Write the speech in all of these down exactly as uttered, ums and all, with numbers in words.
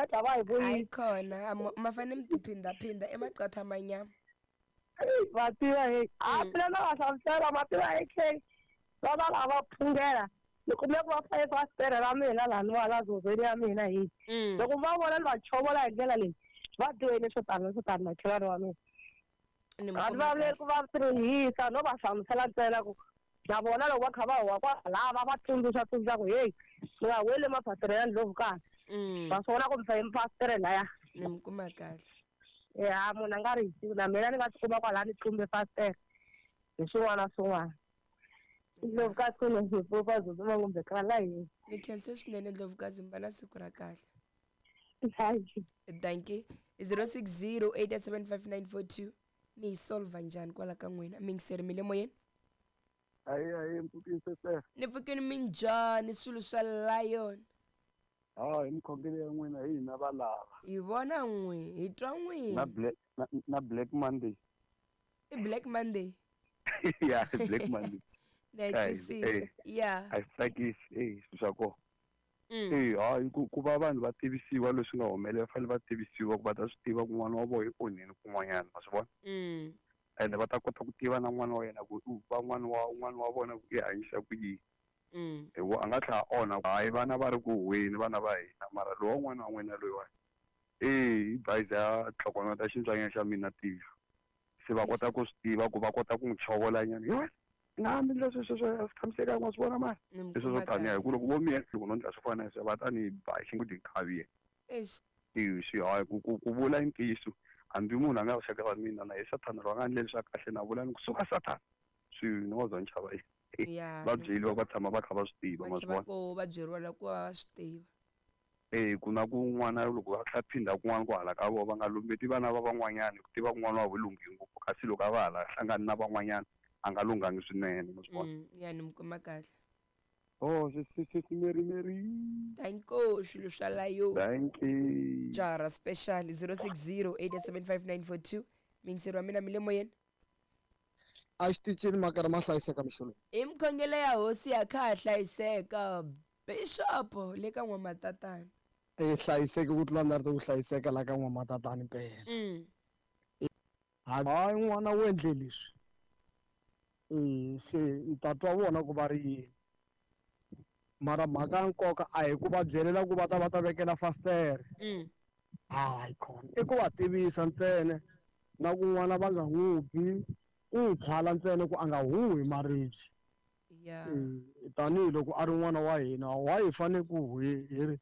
beda va hi Hayi vuyile. Khona ma fanele mi tiphindaphinda emaqatha manyama. Va tiva he a Mm. phela na va hlamusela ma tiva A K va va lava phungela ni kume ku va faye fasitere ra mina laha ni wa la zozweni ya mina hi Mm. loko va vona ni va chovola hi ndlela leyi va dyohile swo tani na swo tani makhelwani wa mina. Ni mi A ni kuma vulavuleli ku kahle. va tirhisa no va hlamusela ntsena ku na vona loko va kha va huwa kwalava va tsundzuxa tsundzuxa ku heyi mi nga weli mafasitere ya ndlhovu kahle. Mm. Va swi vona ku mi faye mafasitere laya. Ni mi kuma kahle. Ya munhu a nga ri hi na mina ni nga tikuma kwalaya ni tlumbe fasitere hi swin'wana na swin'wana. Ndlovukazi kunezipfupa zozuma kumbe kala yini. Ni khense swinene Ndlovukazi, mi va na siku ra kahle. Thank you. Dankie. zero six zero eight seven five nine four two. Mi yi solva njhani kwala ka n'wina? Mingiseri mi le moyeni. Ayi ayi mpfukini sese. Ni pfukini, minjhani swilo swa lion? Ha hi mikhongelo ya n'wina hi hina valava. Hi vona n'we, hi twa Na n'wina. Black na, na Black Monday. I Black Monday. Ya, Black Monday. Na yi Ai, twisisa. eh. Ya. A swi tsakisi eh swilo swa kona. Mm. Eh hayi ku ku va vanhu va tivisiwa leswi nga humelela, va fanele va tivisiwa ku va ta swi tiva ku n'wana wa vona i onhini kun'wanyana, ma swi vona. Mm. Ende va ta kota ku tiva na n'wana wa yena ku u va n'wana wa n'wana wa vona ku i hanyisa ku yini. Mm. Hi ku a nga tlhela a onha hayi vana va ri ku huweni vana va hina mara lowa n'wana wa n'wina loyiwani eh i bayiza ya tlhokonota xintswanyana xa mina tihlo se va kota ku swi tiva ku va kota ku n'wi chovolanyana hi wena i nga hambi ndlela sweswo a swi tshamisekanga, wa swi vona mani. Ni mi Leswi swo kuma taniya hi kahle. ku loko vo miya loko no ndla swo fana na sweswo va ta ni ba hi xingu Eish. swi hayi ku ku ku vula ntiyiso hambi munhu a nga xaka ra mina na hi sathana loyi a nga ndleli swa kahle na vula ni ku suka sathana swi ni wa za ni chava yini. Ya. Va byeliwa va tshama va kha va swi tiva Va ma kha swi va vona. ko va byeriwa la ku va va swi tiva. Eh ku na ku n'wana loko va tlha phinda kun'wana ku hala ka vona va nga lumbeti vana va van'wanyana ku tiva ku n'wana wa vo lunghi ngopfu kasi loko a va hala hlangani na van'wanyana a nga lunghangi swinene, ma swi vona. Mm. Ya, ni mi kuma kahle. Oh sesi Mary Mary. Danko swilo swa layo. Thank you. Jara special zero six zero eight seven five nine four two. Mingiseri wa mina mi le moyeni. A xitichini makara ma hlayiseka mixolo. I mikhongelo ya hosi ya kha ha hlayiseka bishop le ka n'wamatatana. E hlayiseki ku tlula ndari ku hlayiseka la ka n'wamatatani mpela. Mm. Hayi n'wana wu endle leswi e se ni ta twa vona ku va ri yini mara mhaka ya nkoka a hi ku va byelela ku va ta va ta vekela fasitere. Mm. Hayi khona i ku va tivisa ntsena na ku n'wana va nga n'wi bi ku n'wi phala ntsena ku a nga huhi maribye. Ya. Eh, tanihiloko a ri n'wana wa hina wa hi fanele ku hi hi ri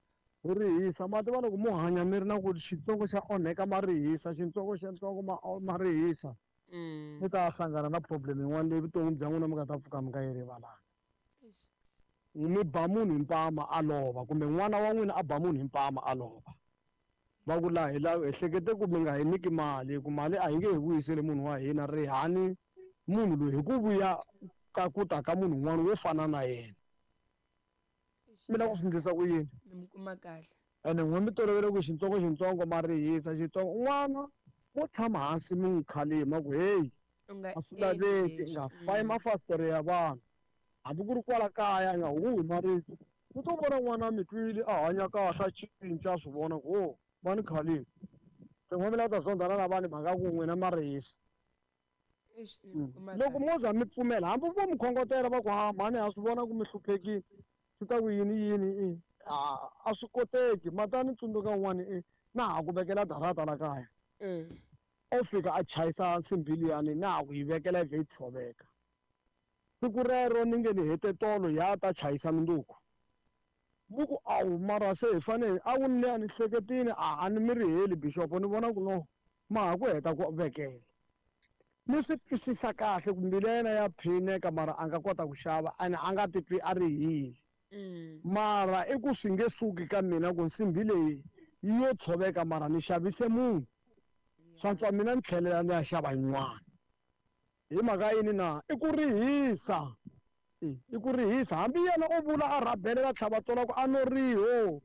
hi rihisa mati va loko mo hanya mi ri na ku xitsongo xa onheka ma rihisa xitsongo xa ntsongo ma ma rihisa. Mm. Mi ta hlangana na problem yin'wana leyi vuton'wini bya n'wina mi nga ta pfuka mi nga yi rivalanga. Eish. Mi ba munhu hi mpama a lova kumbe n'wana wa n'wina a ba munhu hi mpama a lova va ku laha hi la hi hlekete ku mi nga hi nyiki mali ku mali a hi nge hi vuyiseli munhu wa hina rihani munhu loyi hi ku vuya ka ku ta ka munhu un'wana wo fana na yena. Eish. Mi lava ku swi endlisa ku yini? Ni mi kuma kahle. Ene n'we mi tolovele ku xitsongo xitsongo ma rihisa xitsongo n'wana mo tshama hansi mi n'wi khalima ku heyi U nga a swi endli laveki leswi. nga fayi Mm. mafasitere ya vanhu hambi ku ri kwala kaya i nga huhi marito u to vona n'wana mi twile a hanya kahle a cinca a swi vona ku o va ni khalima se n'we mi lava ku ta zondhana na vanhu mhaka ku n'wina ma rihisa. Eish, ni mi kuma Loko kahle. mo za mi pfumela hambi vo mi khongotela va ku ha mhani ha swi vona ku mi hluphekile swi ta ku yini yini i a a swi koteki mata ni tsundzuka un'wana i na ha ku vekela darata la kaya. Mm. O fika a chayisa nsimbhi liyani na ha ku yi vekela yi vhe yi tshoveka siku rero ni nge ni hete tolo ya ta chayisa minduku mu ku awu mara se hi fanele a wu ni a ni hleketini a a ni mi riheli bishop ni vona ku no ma ha ku heta ku vekela ni swi twisisa kahle ku mbilu ya yena ya phineka mara a nga kota ku xava ene a nga titwi a rihile. Mm. Mara i ku swi nge suki ka mina ku nsimbhi leyi yi yo tshoveka mara ni xavise munhu swantswa mina ni tlhelela ni ya xava yin'wana hi mhaka yini na i ku rihisa. I i ku rihisa hambi yena o vula a rhabelela tlhava tola ku a no riho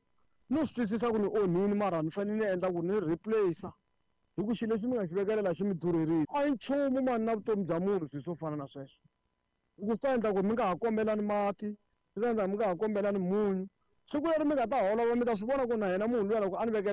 no swi twisisa ku ni onhini mara ni fanele ni endla ku ni replace hi ku xilo lexi mi nga xi vekelela xi mi durherile a hi nchumu mani na vutomi bya munhu swilo swo fana na sweswo hi ku swi ta endla ku mi nga ha kombelani mati swi ta endla mi nga ha kombelani munyu siku leri mi nga ta holova mi ta swi vona ku na yena munhu luya loko a ni vekelela.